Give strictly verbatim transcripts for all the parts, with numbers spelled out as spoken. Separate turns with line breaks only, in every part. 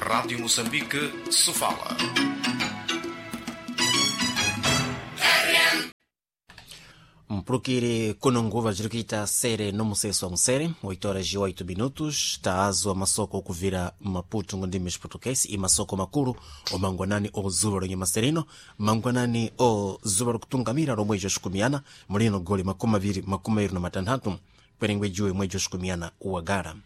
Rádio Moçambique, Sofala.
Mpulukiri kuno nguva ziri sere nomuseso wa musere oito horas e oito minutos taazwa masoko okuvira Maputo ngondime Português e masoko makulu o mangwanani o zuva lonye maserino mangwanani o zuva lokutungamira lomwe joxikumiana mulino goli makumi aviri makumi aviri na matanthatu kwerengwe juwe mwe joxikumiana uwagala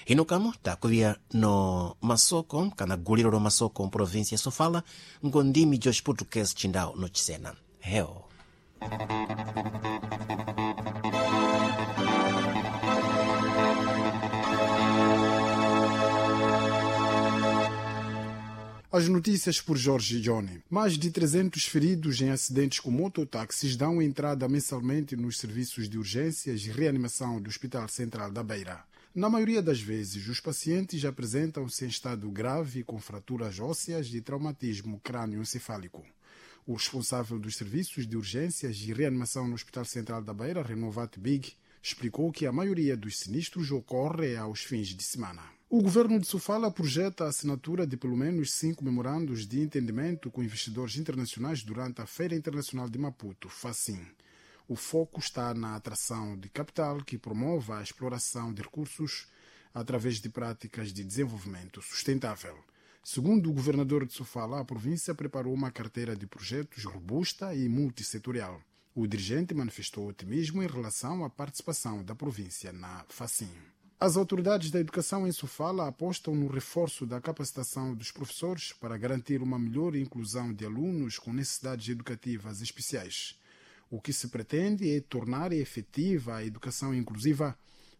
hino kamo takuvia no masoko kana guliro lo masoko mprovinsia ya Sofala ngondimi jox Português chindao no chisena heo.
As notícias por Jorge Johnny. Mais de trezentos feridos em acidentes com mototáxis dão entrada mensalmente nos serviços de urgências e reanimação do Hospital Central da Beira. Na maioria das vezes, os pacientes apresentam-se em estado grave com fraturas ósseas e traumatismo crânioencefálico. O responsável dos serviços de urgências e reanimação no Hospital Central da Beira, Renovat Big, explicou que a maioria dos sinistros ocorre aos fins de semana. O governo de Sofala projeta a assinatura de pelo menos cinco memorandos de entendimento com investidores internacionais durante a Feira Internacional de Maputo, FACIM. O foco está na atração de capital que promova a exploração de recursos através de práticas de desenvolvimento sustentável. Segundo o governador de Sofala, a província preparou uma carteira de projetos robusta e multissetorial. O dirigente manifestou otimismo em relação à participação da província na FACIM. As autoridades da educação em Sofala apostam no reforço da capacitação dos professores para garantir uma melhor inclusão de alunos com necessidades educativas especiais. O que se pretende é tornar efetiva a educação inclusiva,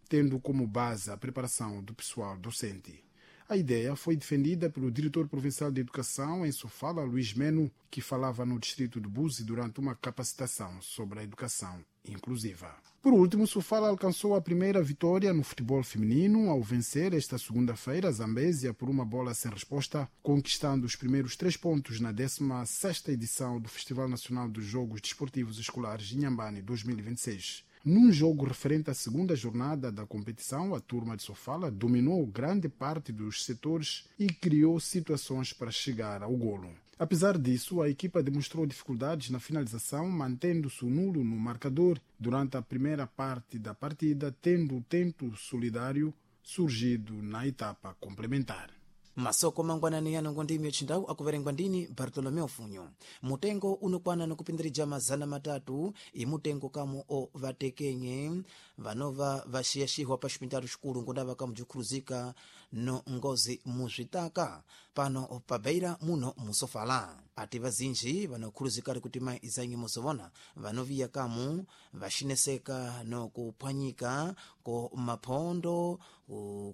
tendo como base a preparação do pessoal docente. A ideia foi defendida pelo diretor provincial de Educação em Sofala, Luís Meno, que falava no distrito de Buzi durante uma capacitação sobre a educação inclusiva. Por último, Sofala alcançou a primeira vitória no futebol feminino ao vencer esta segunda-feira a Zambésia por uma bola sem resposta, conquistando os primeiros três pontos na décima sexta edição do Festival Nacional dos Jogos Desportivos Escolares Inhambane dois mil e vinte e seis. Num jogo referente à segunda jornada da competição, a turma de Sofala dominou grande parte dos setores e criou situações para chegar ao golo. Apesar disso, a equipa demonstrou dificuldades na finalização, mantendo-se nulo no marcador durante a primeira parte da partida, tendo o tento solidário surgido na etapa complementar.
Masoko mangwanani yano ngondimi yochindawu akuverengwa ndini Bartolomeu Funyo. Mutengo unokwana nokupindirija mazana matatu imutengo kamu o vatekenye vanova vaxiyaxihwa pa xipintalo xikulu ngondava kamu bzikhuluzika no ngozi muzvitaka pano pa Beira muno musofala. Ati vazinji vanokhuluzikali kuti mayi izanyi muzovona vanoviya kamu vaxineseka no kuphwanyika ko maphondo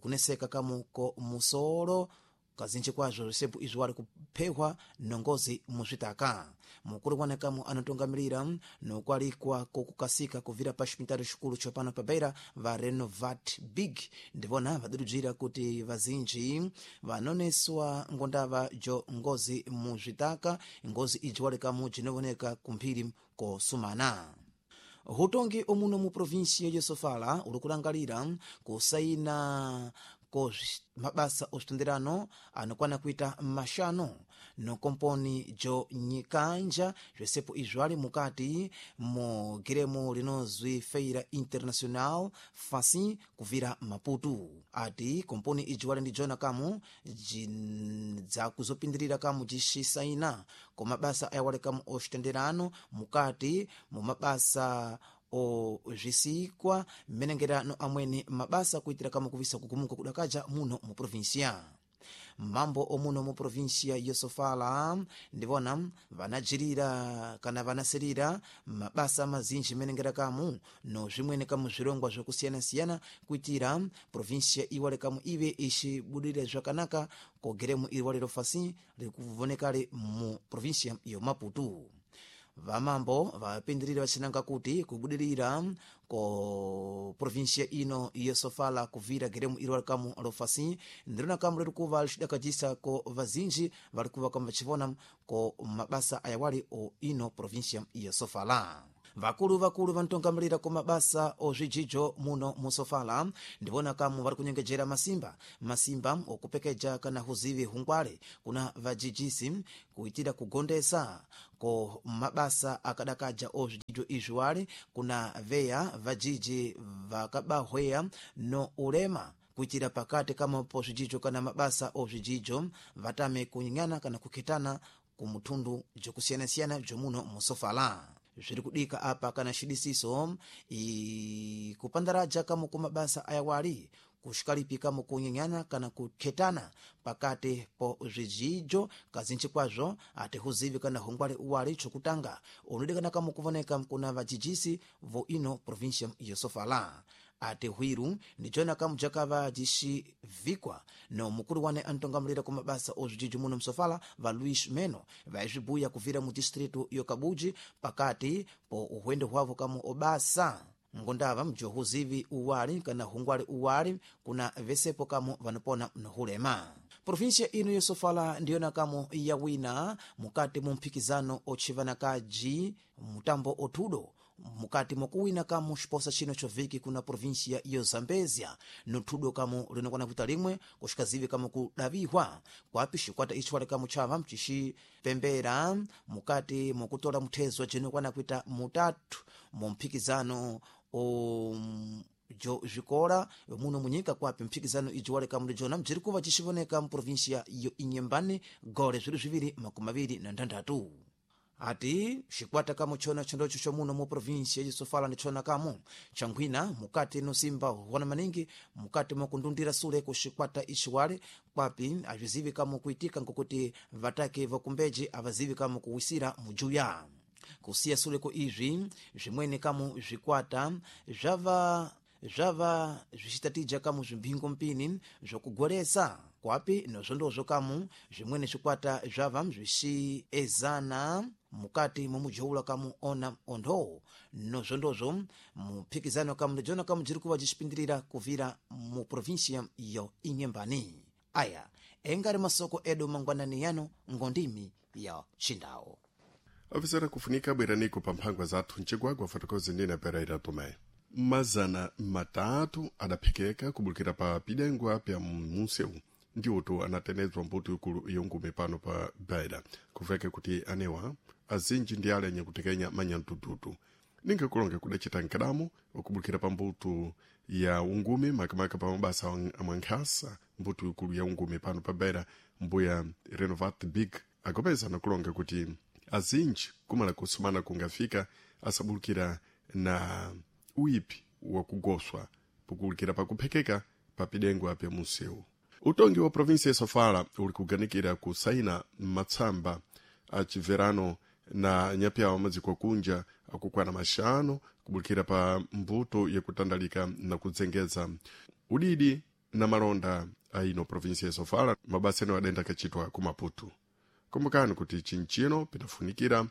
kuneseka kamu ko musolo kazinji kwazvo zvisepo izvo wari kuphehwa nongozi muzvitaka. Mukulu wane kamu anotungamirira nokwalikwa kokukasika kuvira pa xipitalo xikulu chopano pa Beira va Renovat Big ndivona vadudujira kuti vazinji vanoneswa ngondava jo ngozi muzvitaka ngozi iji wali kamu jinovoneka kumphiri kosumana. Hutongi omuno mu provinsia ya Sofala uli kulangalira kusaina ko mabasa osvitenderano anokwana kuita maxanu no komponi jo nyikanja zvesepo izvo ali mukati mu giremo linozwi Feira Internacional Facim kuvira Maputo. Ati komponi iji wali ndi jona kamu dzakuzopindirira kamu jixisaina ko mabasa ayawali kamu osvitenderano mukati mu mabasa o zvisikwa mmenengerano amweni mabasa kuitira kama kuvisa kugumuka kudakaja muno mu provinsia. Mambo omuno mu provinsia ya Sofala ndivona vanajirira kana vanasirira mabasa mazinji menengera kamu no zvimweni kamu zvirongwa zvokusiyana-siyana kuitira provinsia iwale kamu ive ixibudire zvakanaka kogeremu iri wale fasi rikuvonekale mu provinsia yo Maputo. Vamambo vapindirira vachinanga kuti kubudirira ko provinsia ino ya Sofala kuvira geremu iri walikamu lofasi ndirona kamu liri kuva lixidakajisa ko vazinji vari kuva kamu vachivona ko mabasa ayawali o ino provinsia ya Sofala. Vakulu vakulu vantongamilira ku mabasa ozvijijo muno musofala ndivona kamu vari kunyengejera masimba masimba okupekeja kana huzivi hungwale kuna vajijisi kuitira kugondesa ko mabasa akadakaja ozvijijo izvi wale kuna veya vajiji vakabahweya no ulema kuitira pakati kama po zvijijo kana mabasa ozvijijo vatame kunying'ana kana kukhetana kumuthundu jokusiyanasiyana jomuno musofala. Zviri kudika apa kana xidisiso ikupandaraja kamo ku mabasa ayawali kuxikalipika kamo kunyenyana kana kukhetana pakati po zvijijo kazinji kwazvo atihuzivi kana hungwale uwali chokutanga unodikana kamo kuvoneka kuna vajijisi vo ino província ya Sofala. Ati hwiru ndicona kamu jakava jixibvikwa no mukulu wane antongamulira ku mabasa ozvijijo muno msofala va Luís Meno vaizvibuya kuvira mu distritu yo Kabuji pakati po uhwendo hwavo kamu obasa ngondava mjohuzivi uwali kana hungwali uwali kuna vesepo kamu vanopona nohulema. Província ino yosofala ndiyona kamu yawina mukati mu mphikizano otchivanakaji mutambo othudo mukati mokuwina kamu xiposa chino choviki kuna província yo Zambezia nothudo kamu linokwana kuita limwe kuxikazivi kamu kudavihwa kwapi xikwata ichi wale kamu chava mcixipembera mukati mokutola muthezo jinokwana kuita mutatu mu mphikizano o jo zvikola muno munyika kwapi mphikizano iji wale kamu lijona mjiri kuva cixivoneka mu província yo Inhambane gole zviri zviviri makumi maviri na ndhandhatu. Ati xikwata kamu chona chondocho chomuno mu província yesofala ndichona kamu changhwina mukati nosimba huona maningi mukati mokundundira sule ku xikwata ixiwale kwapi azvizivi kamu kuitika ngokuti vatake vakumbeji avazivi kamu kuwisira mujuya. Kusiya sule ku izvi zvimweni kamu zvikwata zvava zvava zvichitatija kamu zvimphingo mpini zvokugolesa kwapi nozvondozvo kamu zvimweni zvikwata zvava zvixiezana mukati momujoula kamu ona ondhowo nozvondozvo muphikizano kamu ndijona kamu jiri kuva jixipindirira kuvira mu província yo Inhambane. Aya engari masoko edu mangwanani yano ngondimi ya Xindawo.
Afisera kufunika bweraniko pa mphangwa zathu mcigwagwa fotokozi ndina Pereira Tomé. Mazana matatu adaphikeka kubulukira pa pidengwa pya munseu ndiwoto anatenedzwa mbuto ikulu yongume pano pa Beira kuveke kuti anewa azinji ndi ale anyakutekenya manyantututu ningakulonge kudacita nkadamo okubulukira pa mbuto ya ungume makamaka pa mabasa amwankhasa mbuto ikulu ya ungume pano pa Beira mbuya Renovat Big agopeza nakulonga kuti azinji kumala kusumana kungafika asabulukira na uipi wakugoswa pokuwulukira pakuphekeka papidengwa pya munsewu. Utongi wa província ya Sofala uli kuganikira kusaina matsamba aciverano na nyapyawo madziko akunja akukwana maxanu kubulukira pa mbuto yakutandalika na kudzengeza udidi na malonda aino província ya Sofala mabasa eno adenda akacitwa ku Maputo. Kumbukani kuti chinchino pinafunikira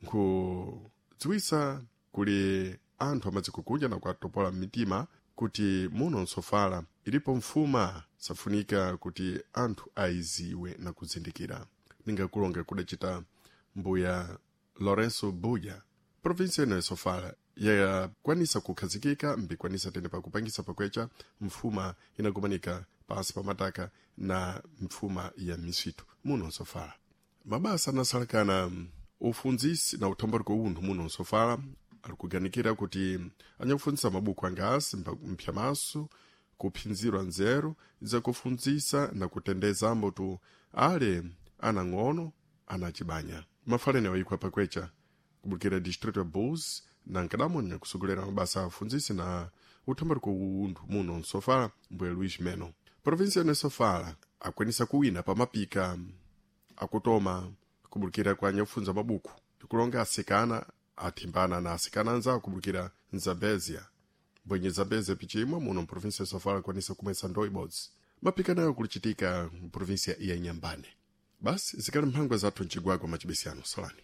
nkhudziwisa kuli anthu amadziko kunja na kuatopola mitima kuti muno nsofala ilipo mfuma safunika kuti anthu aiziwe na kuzindikira. Ningakulonga kudacita mbuya Lourenço Buya província ino ya Sofala yakwanisa kukhazikika mbikwanisa tene pakupangisa pakwecha mfuma inakumanika pansi pa mataka na mfuma ya misitu muno nsofala. Mabasa anasalakana ufundzisi na uthambaliko unthu muno nsofala ali kuganikira kuti anyakufundzisa mabuku angasi mphyamaso kuphinzirwa nzeru zakufundzisa na kutendeza ambotu ale anang'ono anacibanya. Mafalene wayikwa pakwecha kubulukira distrito ya Bulls na nkadamo nyakusogolera mabasa afundzisi na uthambaliko unthu muno nsofala mbuya Luís Meno. Província ino Sofala akwanisa kuwina pa mapika akutoma kubulukira kwa anyakufunza mabuku kulonga asikana athimbana na asikana anzawo kubulukira Nzambezia mbwenye Zambezia pichimwa muno mprovinsia ya Sofala akwanisa kumwesa ndoo ibodzi. Mapika nayo kulichitika mprovinsia ya Inhambane. Basi zikali mphangwa zathu mcigwagwa macibesiyano salani.